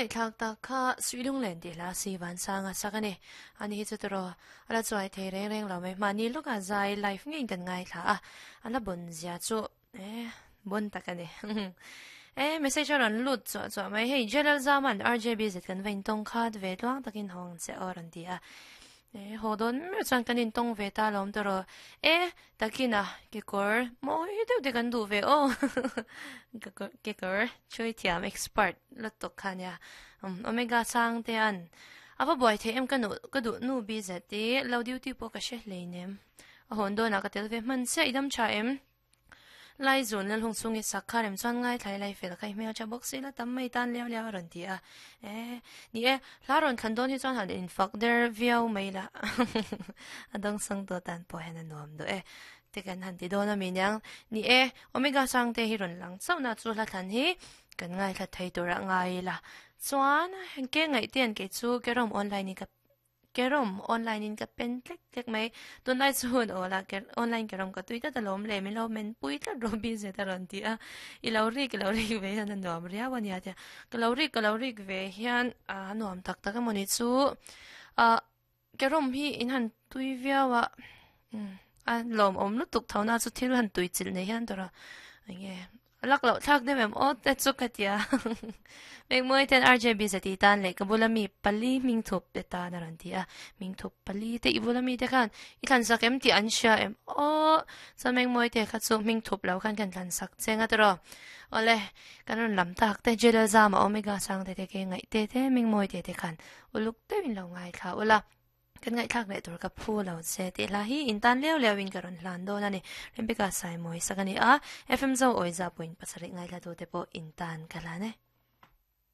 ngaihthlak tak kha Suilunglen tih hla si Vansanga sak a ni. Ani hi chu tawraw a la chuai thei reng reng lo mai. Mahni lawkah zai live ngeiin kan ngaithla a, a la bon zia chu eh bon tak a ni. Eh message a rawn lut chuah chuah mai. Hei Jalal Zaman RJBZ kan va intawng khat ve tluang takin hawng che aw a rawn ti a. E, haw dawn meuh chuan kan intawng ve ta lawm tawh E, takina kekawr mawi deuh te kan duh ve aw. Kekawr chhui thiam expert lutuk kha nia. Um, Omega chang te an. Ava buai thei em ka nu ka duh nu bi zet i lo duty pawh ka hre hleinem. A hawn dawnah ka tel ve hman chiah i dam tha em. Lai zun lal hung chhung i sak kha rem chuan ngaithlai lai fel kha i hmel tha bawk si la tam mai tan liau liau a rawn ti a. E, ni e, hla rawn thlan dawn hi chuan han infak der viau mai la. A dawng sang tawh tan pawh hian a nuam duh e. Te kan han ti dawn a mi niang. Ni e, Omega Sangte hi rawn lang chauh na chu hla thlan hi kan ngaithla thei tur a ngai ila. Chuan, ke ngaihtian kei chu Kerawm online in ka Kerawm online in ka pen tlek tlek mai. Tunlai chu hun aw la online kerawm ka tui tlat alawm le min lo men pui tlat rawh BZ a rawn ti a. I lo rik i lo rik ve hian a nuam riau a nia tia. Ka lo rik ka lo rik ve hian a nuam tak tak emaw ni chu. Ah kerawm hi in han tui viau a a lawmawm lutuk tho na chu thil han tui chilh nei hian tawrh a enge A lak loh thlak deuh em aw te chu ka tia. Mekmawi ten RJB zati tan leh ka bula mi pali hming thup te tan a rawn ti a. Hming thup pali te i bula mi te khan i thlan sak em tih an hria em aw. Chuan Mekmawi te kha chu hming thup lo khan kan thlan sak che nga tawh. Awle kan rawn lam tak te Jelal Zama Omega Sangte te ke ngaih te te Mekmawi te te khan uluk deuhin lo ngaithla ula. Kan ngaihthlak leh tur ka phu lo che tih hla hi in tan leu leu in ka rawn hlan dawn a ni. Rebecca Saimawi sak a ni a, FM Zo Awiza point pasarih ngaithla tute pawh in tan ka hlan e.